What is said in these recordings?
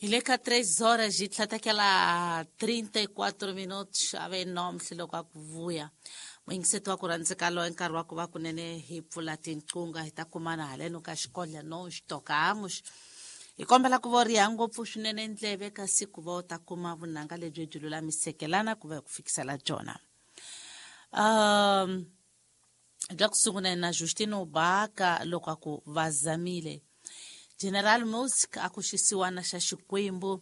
Hi le ka 3 horas yi tlhatekela 34 minutos a ve nomhle loko a ku vuya muyingiseti wa ku rhandzeka loyi nkarhi wa ku va kunene hi pfula tinqunga hi ta kumana haleno ka xikodla no xitokamos hi kombela ku vo riha ngopfu swinene ndleve kasi ku va u ta kuma vunanga lebyi byi lulamisekelana ku va hi ku fikisela byona. Bya ku sungula na Justino Baka loko a ku va zamile. General Music a ku xisiwana xa Xikwembu.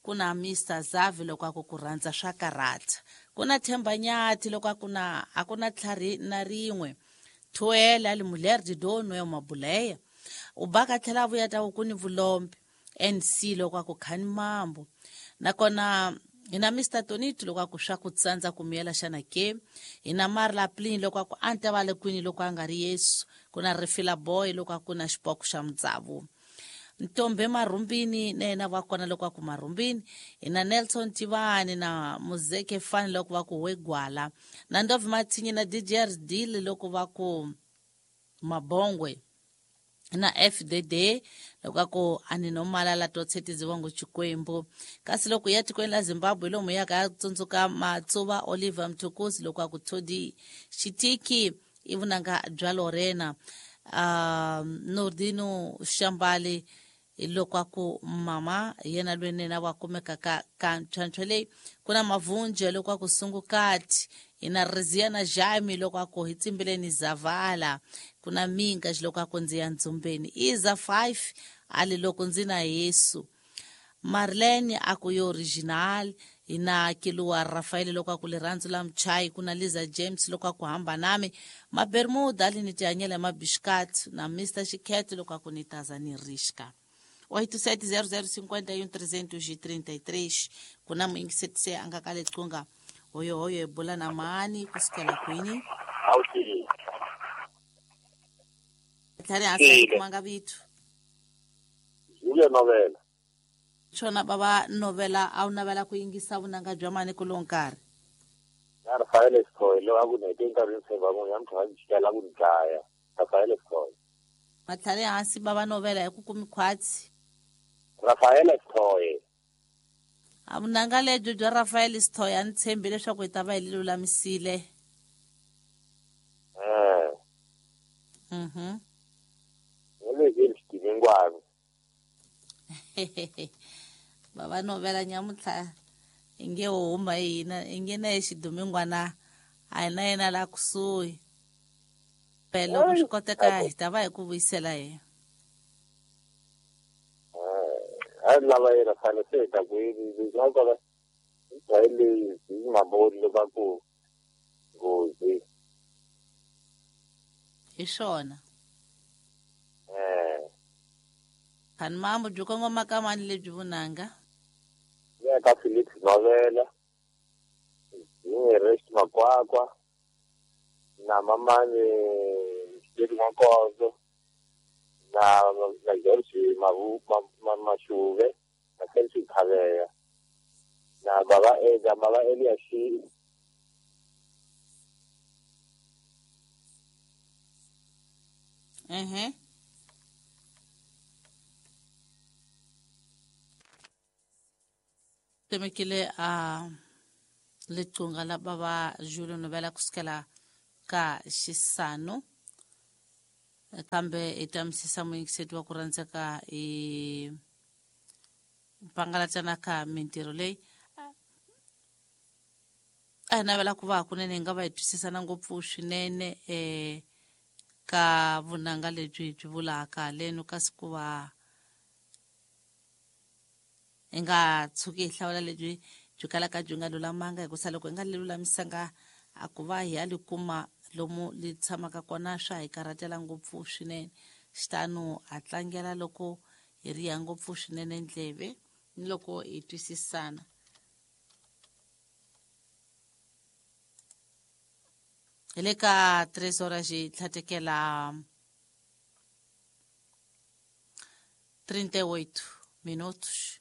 Ku na Mr Zavi loko a ku ku rhandza swa karata. Ku na Themba Nyathi loko a ku na a ku na tlhari na rin'we. Thuele a li mulher de dono ya Mabuleya. U Baka tlhela a vuya ta ku ni vulombe. NC loko a ku khani mambo. Nakona hi na Mr Tonito loko a ku swa ku tsandza ku miyela xana ke. Hi na Marla Plin loko a ku a ni ta va le kwini loko a nga ri Yesu. Ku na Rifila Boy loko a ku na xipoko xa mutsavu. Ntombe Marhumbini na yena va kona loko a ku Marhumbini. Hi na Nelson Tivani na Muzeke Fani loko va ku Wegwala. Na Ndovi Mathinyi na DJ Deal loko va ku Mabongwe. Na FDD loko a ku a ni no malala to tshetiziwa ngo Xikwembu. Kasi loko ya tikweni la Zimbabwe lomu ya ka tsundzuka Matsuva Oliver Mtukudzi loko a ku Thodi Xitiki i vunanga bya Lorena. Nordino Shambali loko a ku mama yena loyi nena wa kumeka ka ka ntlhantlho leyi. Ku na Mavunje loko a ku Sungukati. Hi na Rizia na Jaime loko a ku hi tsimbileni Zavala. Ku na Minga loko a ku ndzi ya Ndzhumbeni. Iza 5 a li loko ndzi na Yesu. Marlene a ku yo original. Hi na Kiluwa Rafael loko a ku lirhandzu la Mchai. Ku na Liza James loko a ku hamba nami. Mabermuda ali ni tihanyela mabishkat. Na Mr Xikhet loko a ku ni taza ni rishka. 870051 333. Ku na muyingiseti se a nga ka lecunga. Hoyo hoyo hi bula na mani kusukela kwini? Tlhari hansi a kumanga vito. Julia Novela. Swona bava Novela a wu navela ku yingisa vunanga bya mani ku lowu nkarhi? Ya Rafael Escoy loyi a ku ni hete nkarhi ni tshemba munhu ya mtlhela ni chikela ku ni dlaya. Rafael Escoy. Matlhari hansi bava Novela hi ku kumi khwatsi. Rafael Escoy. A vunanga lebyi bya Rafael Escoy a ni tshembi leswaku hi ta va hi lulamisile. Ni le xidimingwana. Bava Novela nyamutlha inge wo huma hina inge na xidumingwana a hi na yena la kusuhi. Loko swi koteka hi ta va hi ku vuyisela yena. A lava yena fane se hi ta ku yini na kona hi leyi hi maboni loko a ku nghozi. Hi swona. Khani mambo byi kongoma ka mani lebyi vunanga? Ya ka Felix Novela, Rest Makwakwa, na mamani Xiteri N'wankonzo, na George Mavu Mashuve, na Felix Khaveya, na baba Eda, baba Elias. Temekile a lecunga la bava Julio Novela kusukela ka xisano kambe hi ta misisa muyingiseti wa ku rhandzeka hi pangalatana ka mintirho leyi a hi navela ku va hakunene hi nga va hi twisisana ngopfu swinene ka vunanga lebyi byi vulaka haleno kasi ku va hi nga tshuki hi hlawula lebyi byi kalaka byi nga lulamanga hikusa loko hi nga lulamisanga a ku va hi ya li kuma lomu li tshamaka kona swa hi karhatela ngopfu swinene. Xitano a tlangela loko hi riha ngopfu swinene ndleve ni loko hi twisisana. Hi le ka 3 horas hi tlhatekela 38 minutos.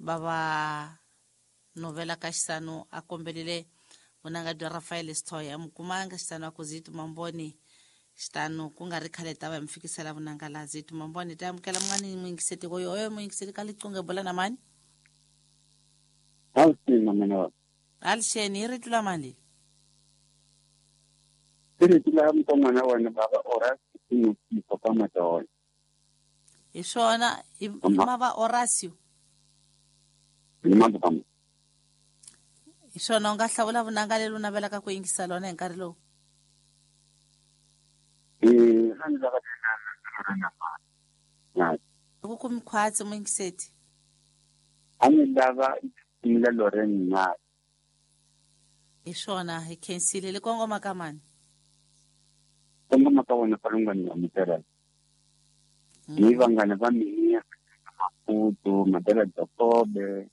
Bava Novela ka xisano a kombelile vunanga bya Rafael Stoy a mukumanga xisano a ku zitu mamboni. Xitano ku nga ri khale ta va hi mi fikisela vunangalazi tumamboni ta amukela mun'wani muyingiseti oyo oyo muyingiseti ka liqunge bula na mani. Alsina mina. Alixeni hi rito la mani? I rito la mukon'wana wa wena baba Horacio Sipho ka Madolo. Hi swona i mava Horacio. Ni mava. Hi swona u nga hlawula vunanga leri u navelaka ku yingisa lona hi nkarhi lowu. A ndzi lava na ku kumi khwatsi muyingiseti. A ni lava la Loren na. Hi swona hi khensile le kongoma ka mani. Kongoma ka wena palungani ya mutela. Ni vangana va mina Maputo, Madela Jacobe,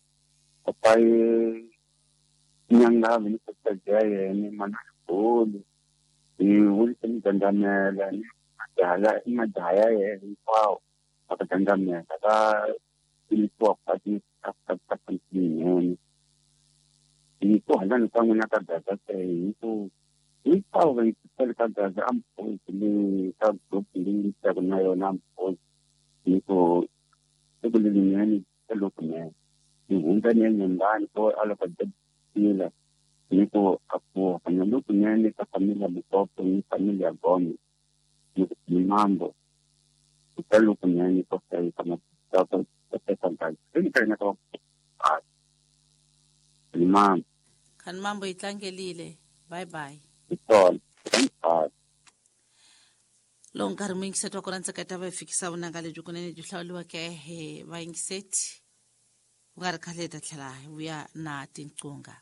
papai Nyanga ni kutsaja yena mana bolo. Ni wulisa dandamela ni madala madaya yena hinkwawo aka dandamela ka ni kwa ni ka ka ni ni ko hala ni ka n'wina ka gaza hi ku hinkwavo va yingisela ka gaza ampozi le ka group leyi ni na yona ampozi ni ku siku lerinene lokunene ni hundza ni ya nyumbani ko a loko dila ni ku a pfuka na lokunene ka familia Mukopo ni familia Gome ni ku ni mambo ka lokunene ko hlayisa ka ka ka ni ka ka ni mambo khani mambo yi tlangelile. Bye bye. Lowu nkarhi muyingiseti wa kona ntsaketa va hi fikisa vunanga lebyi kunene byi hlawuriweke hi vayingiseti ku nga ri khale hi ta tlhela hi vuya na tinqunga.